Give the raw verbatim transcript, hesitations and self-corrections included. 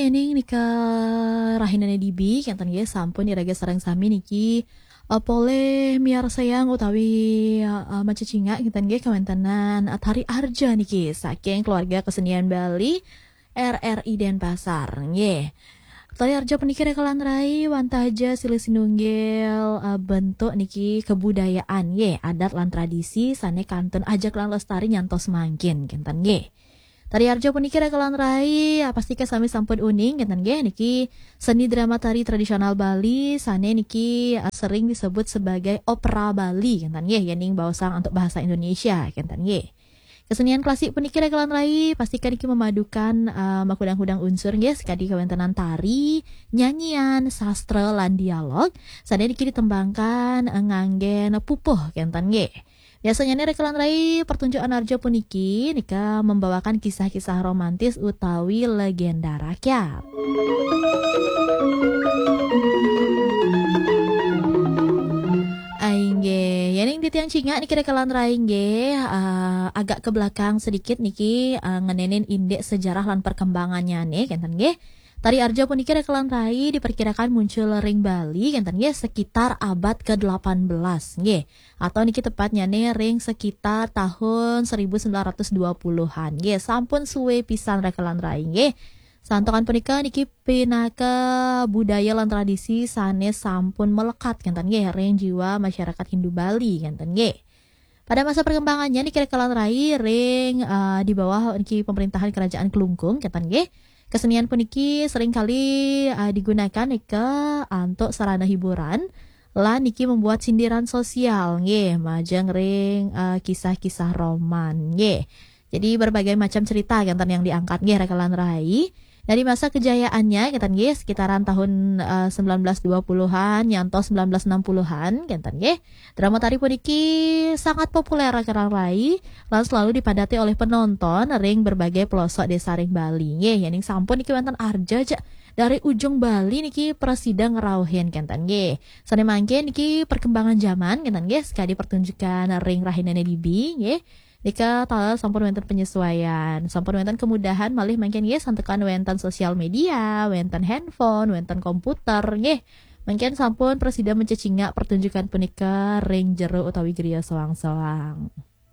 Ening nika rahinane dibi, kenten nggih, sampun iraga sareng sami niki, eh, polih miarsayang utawi, eh, macecingak, kenten nggih, kawéntenan, eh, tari arja niki saking keluarga kesenian Bali R R I Denpasar, nggih. Tari arja puniki rekelan rai wantah ja silih sinunggil, eh, bentuk niki kebudayaan, nggih, adat lan tradisi sane kantun ajeg lan lestari nyantos mangkin, kenten nggih. Tari arja puniki rekelan rai, eh, pastika sami sampun uning, kenten nggih, niki seni drama tari tradisional Bali, sane niki, eh, sering disebut sebagai opera Bali, kenten nggih, yening baosang antuk bahasa Indonesia, kenten nggih. Kesenian klasik puniki rekelan rai, pastika niki memadukan, eh, makudang-kudang unsur nggih, sakadi kawéntenan tari, nyanyian, sastra, lan dialog, sane niki ditembangkan, eh, nganggen pupuh, kenten nggih. Biasanya nih rekelan rai pertunjukan arja puniki nika membawakan kisah-kisah romantis utawi legenda rakyat. Inggih, yening titiang cingak niki rekelan rai nggih, eh, agak ke belakang sedikit niki, eh, ngenenin indik sejarah lan perkembangannya nih, kenten nggih. Tari arja puniki rekelan rai diperkirakan muncul ring Bali, kenten nggih, sekitar abad kedelapan belas nggih. Atau niki tepatnya nih ring sekitar tahun seribu sembilan ratus dua puluhan nggih. Sampun suwe pisan rekelan rai nggih. Santukan punika niki pinaka budaya lan tradisi sane sampun melekat, kenten nggih, ring jiwa masyarakat Hindu Bali, kenten nggih. Pada masa perkembangannya niki rekelan rai ring, eh, di bawah niki pemerintahan kerajaan Klungkung, kenten nggih. Kesenian puniki seringkali, eh, digunakan nika antuk sarana hiburan lan niki membuat sindiran sosial nggih, majeng ring, eh, kisah-kisah roman nggih. Jadi berbagai macam cerita kenten yang diangkat nggih rekelan rai. Dari masa kejayaannya kenten nggih, sekitaran tahun, eh, sembilan belas dua puluhan nyantos sembilan belas enam puluhan kenten nggih. Drama tari puniki sangat populer rekelan rai lan selalu dipadati oleh penonton ring berbagai pelosok desa ring Bali nggih. Yening sampun niki wénten arja ja dari ujung Bali niki prasida ngrauhin kenten nggih. Sane mangkin niki perkembangan zaman kenten nggih, sakadi pertunjukan ring rahinane dibi nggih. Nika taler sampun wénten penyesuaian, sampun wénten kemudahan malih mangkin nggih santukan wénten sosial media, wénten handphone, wénten komputer nggih. Mangkin sampun prasida mencecingak pertunjukan punika ring jero utawi griya soang-soang.